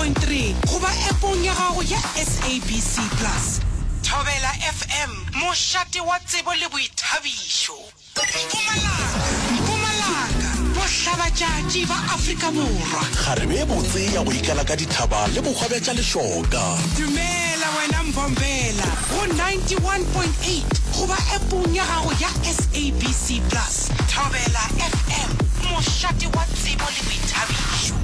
92.3 goba appong ya gago ya SABC Plus. Thobela FM, mošate wa tsebo le boithabišo. Mpumalanga, Mpumalanga, bohlabatšatši ba Afrika Borwa. Kgarebe ye botse ya go ikala ka dithaba le bohwa bja tša lešoka. Dumela wena Mbombela go 91.8 goba appong ya gago ya SABC Plus. Thobela FM, mošate wa tsebo le boithabišo.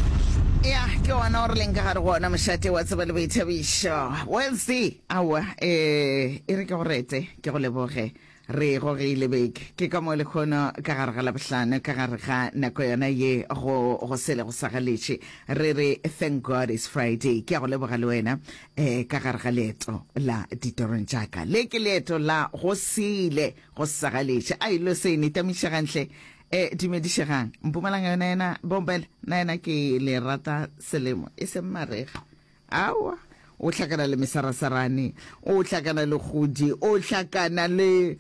Ya, ke ona o re leng ka gare go ona mošate wa tsebo le boithabišo. Wednesday, aowa, eh, e re ke go rete, ke go leboge. Re gogile beke. Ke ka mo lehono ka gare ga Labohlano, ka gare ga nako yona ye go, go sele go sa galetše. Re re, Thank God it's Friday. Ke a go leboga le wena, eh, ka gare ga leeto la ditorong tša ka. Le ke leeto la go sele go sa galetše. Ai, lo se nitamišegang hle. Eh, dumedišegang. Mpumalanga yona yena, Bombela, na yena ke le rata selemo, e seng marega. Aowa, o hlakana le mesarasarane, o hlakana le kgodi, o hlakana le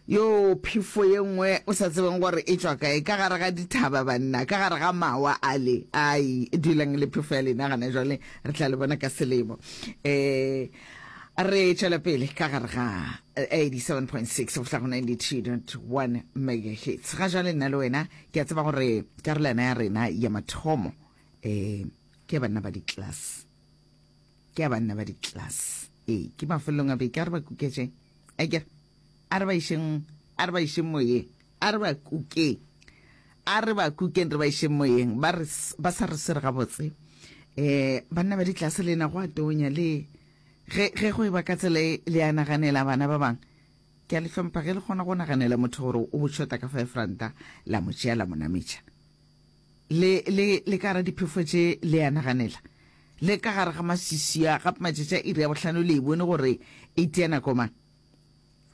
yo phefo ye nngwe o sa tsebeng gore e tšwa kae, ka gare ga dithaba banna, ka gare ga mawa ale. Ai, dulang le phefo ya lena gana jwale, re tla le bona ka selemo. Um re tšwela pele ka gare ga 87.6 go fihla go 92.1 megahertz. Ga jwale nna le wena ke a tseba gore karolwana ya rena ya mathomo um Ke ya banna ba di-class. Ke ya banna ba di-class. Ee, ke mafelelong a beke, a re ba kuketšeng. Akere, a re ba išeng, a re ba išeng moyeng. A re ba kukeng. A re ba kukeng, re ba išeng moyeng. Ba re, ba sa re swere gabotse. Eh, banna ba di-class lena go a tonya le ge, ge go e ba ka tsela e le a naganela bana ba bang. Ke a le hlompha ge le kgona go naganela motho gore o shota ka five ranta, la mo tšea la mo nametša. Le, le, le ka gara diphefo tše le a naganela. Le ka gare ga maswiswi a, gape matšatši a iri ya bohlano le e bone gore e tia nako mang.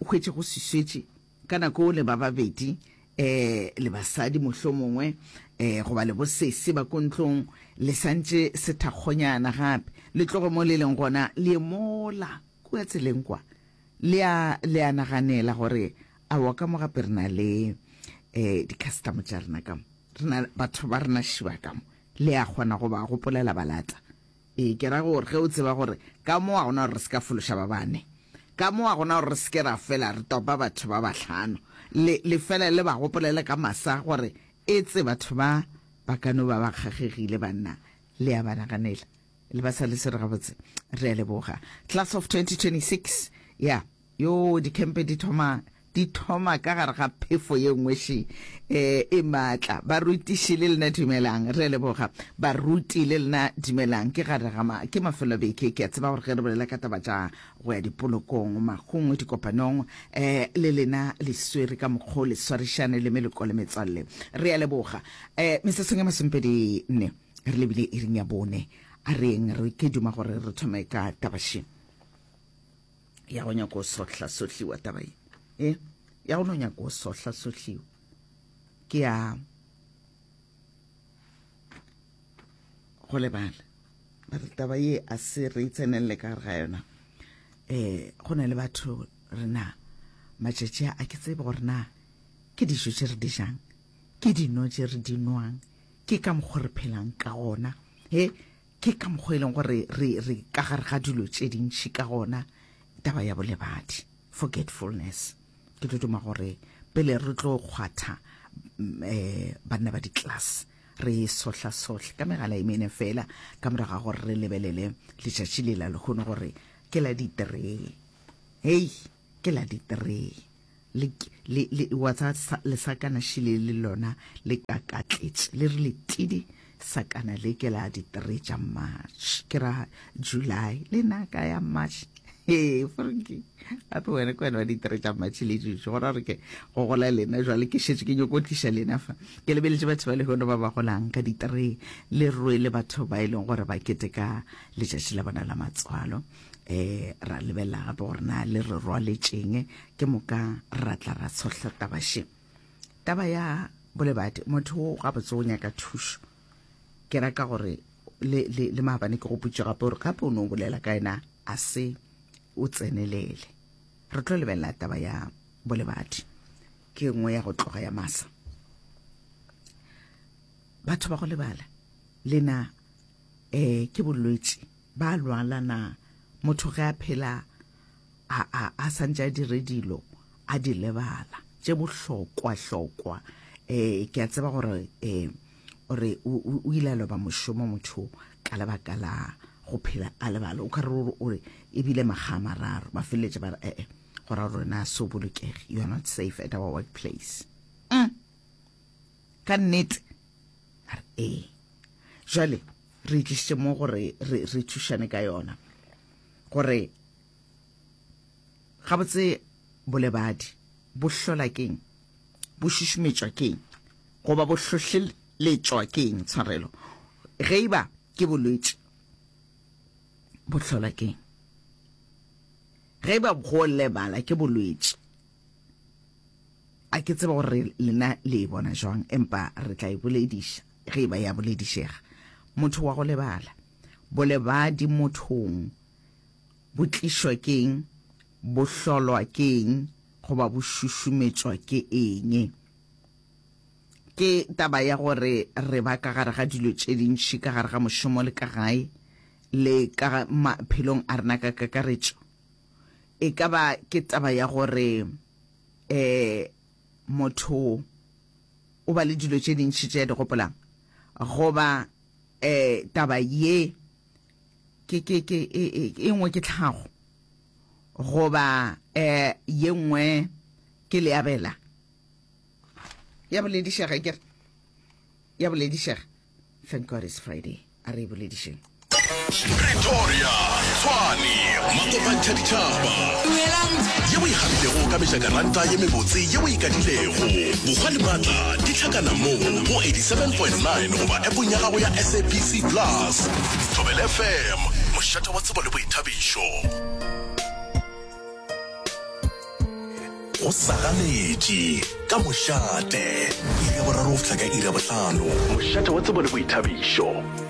O hwetše go swiswetše ka nako le ba babedi, eh, le basadi mohlomongwe, eh, goba le bosese ba ko ntlong, le santše sethakgonyana gape. Le tloge mo le leng gona, le ye mola kua tseleng kwa. Le a, le a naganela gore aowa ka mo gape re na le eh, di-custom tša rena ka mo. Re na batho ba rena šiba ka mo. Le a kgona go ba gopolela balata. Ee, ke ra gore ge o tseba gore ka mo ga gona gore re se ka fološa ba bane. Ka mo ga gona gore re se ke ra fela re topa batho ba bahlano. Le, le fela le ba gopolele ka masa gore etse batho ba ba ka no ba ba kgagegile banna. Le a ba naganela. Le ba sa le swere gabotse. Re a leboga. Class of 2026. Ya, yo dikhempe di thoma di thoma ka gare ga phefo ye nngwe še eh, e maatla. Barutiši le lena dumelang, re a leboga. Baruti le lena dumelang. Ke gare ga ma, ke mafelo a beke. Ke a tseba gore ge re bolela ka taba tša go ya dipolokong, mahung, dikopanong, eh, le lena le swere ka mokgwa o le swarišane le meloko le metswalle. Re a leboga. Eh, metsotsong e masomepedi nne. Re lebile iring ya bone. A re yeng re ke duma gore re thome ka taba še ya go nyako sohla-sohliwa taba ye. E, ya go no nyako sohla-sohliwa. Ke ya go lebala. Ba re taba ye a se re tsenelele ka gare ga yona. Eh, go na le batho rena matšatši a ke tsebe gore na ke dijo tše re di jang, ke dino tše re di nwang, Ke ka mokgo re phelang ka gona. He, ke ka mokgo e leng gore re, re ka gare ga dilo tše dintši ka gona, taba ya bolebadi, forgetfulness. Ke tlo duma gore pele re tlo kgwatha um banna ba di-class, re sohlasohle ka megala e mene fela, ka morago ga gore re lebelele letšatši le la lehono gore ke la di-three. Hei, ke la di-three. Le, le, le, wa tsa lesakana šile le lona le kakatletše, le re letidi sakana le ke la di-three tša March, ke ra July, le na ka ya March. Ee, Frankie, gape wena ke wena wa di-three tša March le dutše, go ra gore ke go gola lena jwale, ke šetše ke nyoko tliša lena fa. Ke lebeletše batho ba lehono ba ba golang ka di-three, le rwele batho ba e leng gore ba keteka letšatši la bona la matswalo. Eh, ra lebelela gape gore na le re rwaletšeng, ke moka ra tla ra tshohla taba še. Taba ya bolebadi, motho o gabotse o nyaka thušo. Ke ra ka gore le, le, le maabane ke gopotše gape gore gape o no bolela ka yena a se o tsenelele. Re tlo lebelela taba ya bolebadi, ke nngwe ya go tloga ya masa. Batho ba go lebala, lena. um ke bolwetši ba lwala na motho ge a phela a, a, a santše a dire dilo a di lebala tše bohlokwa-hlokwa. Um ke a tseba gore um ore o, o ile a loba mošomo motho ka lebaka la go phela a lebala. O ka re o re ebile makga a mararo ba feleletše ba re ee go ra gore na so bolokege, you are not safe at our workplace. Mm. Ka nnete a re ee. Jwale re itlišitše mo gore re, re thušane ka yona gore gabotse bolebadi bo hlola keng, bo šušumetšwa keng, goba bo hlohleletšwa keng? Tshwarelo, ge e ba ke bolwetši bo hlola keng? Ge e ba go lebala ke bolwetši, a ke tsebe gore lena le e bona jwang, empa re tla e bolediša ge e ba ya boledišega. Motho wa go lebala, bolebadi mothong bo tlišwa ke'ng, bo hlolwa ke'ng goba bo šušumetšwa ke eng? Ke taba ya gore re ba ka gare ga dilo tše dintši ka gare ga mošomo le ka gae le ka maphelong a rena ka kakaretšo. E ka ba ke taba ya gore um motho o ba le dilo tše dintši tše a di gopolang goba um taba ye ke ke ke e, e, e nngwe ke tlhago goba um ye nngwe ke leabela ya boledišega ke re ya boledišega thank god it's friday a re e boledišeng Pretoria, Tshwane, Makopantšha ditšhaba. Ye o e gabilego ka mejakaranta ye mebotse ye o e kadilego. Bokgwa le maatla di hlakana mo go 87.9 goba appong ya gago ya SABC Plus. Thobela FM, mošate wa tsebo le boithabišo. Go sa ganetše ka mošate, iri ya boraro go fihla ka iri ya bohlano. Mošate wa tsebo le boithabišo.